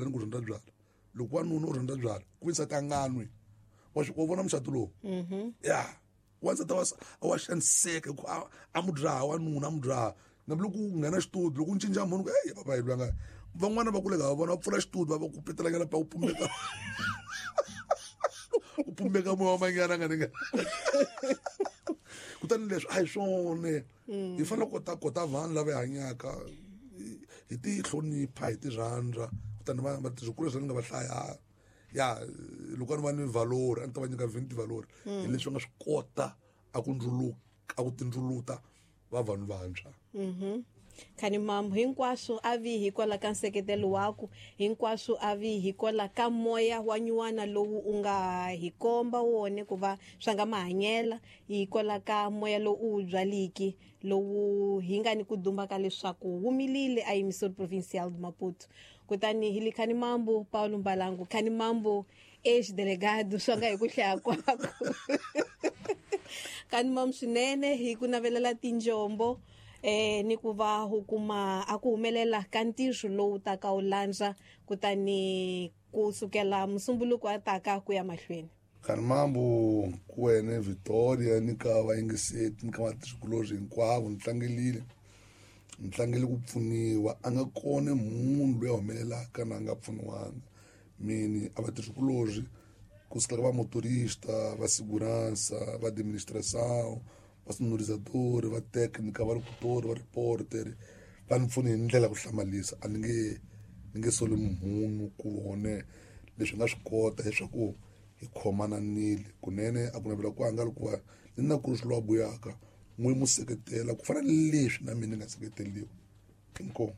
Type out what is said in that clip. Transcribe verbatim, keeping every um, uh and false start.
ni ku rhandza byala loko wanuna u rhandza byala ku ve nsati a nga nwi wa swi wa vona mucato lowu ya wansati wa wa xaniseka hi ku a a mu dzaha wanuna a mu dzaha nambi loko u nghena xitudio loko u cinca munhu ku eyi papa hi lwanga van'wana va kule ka vona va pfula xitudio va va ku petelanyana pa u pumbeka u pumbeka moya wa manyana nga ni nga kutani leswi a hi swona hi fanele kota kota vanhu lava hi hanyaka hi- hi ti hlonipha hi ti rhandza kutani va vatirhikulu leswi ni nga va hlaya ya loko a ni va ni valori a ni ta va nyika vinti valori hi leswi va nga swi kota a ku ndzuluka a ku tindzuluta va vanhu vantshwa. Khani mambo hinkwaswo a vi hikwalaho ka nseketelo waku, hinkwaswo a vi hikwalaho ka moya wa nyuwana lowu u nga hi komba wone ku va swa nga mahanyela, hikwalaho ka moya lowu u wu byaliki lowu hi nga ni ku dumba ka leswaku wu milile a Emissora Provincial de Maputo. Kutani hi li khani mambo Paulo Mbalangu, khani mambo ex-delegado swa nga hi ku hlaya kwako. Khani mambo swinene hi ku navelela tinjombo eh ni ku va u kuma a ku humelela ka ntirho lowu taka wu landza kutani ku sukela musumbuluko a taka ku ya mahlweni. Khani mambo ku wena Victoria ni ka vayingiseti ni ka vatirhikulorhi hinkwavo ni tlangelile ni tlangele ku pfuniwa a nga kona munhu loyi a humelelaka na a nga pfuniwanga mini a vatirhikulorhi kusukela ka va motorista va segurança va administração va sonorizador va técnica va locutor va reporter va ni pfuni hi ndlela ya ku hlamalisa a ni nge ni nge soli munhu ku vone leswi nga swi kota leswaku hi khomananile kunene a ku navela ku anga loko va ni na ku ri swi lowa buyaka n'wi mu seketela ku fana ni leswi na mina ni nga seketeriwa inkomu.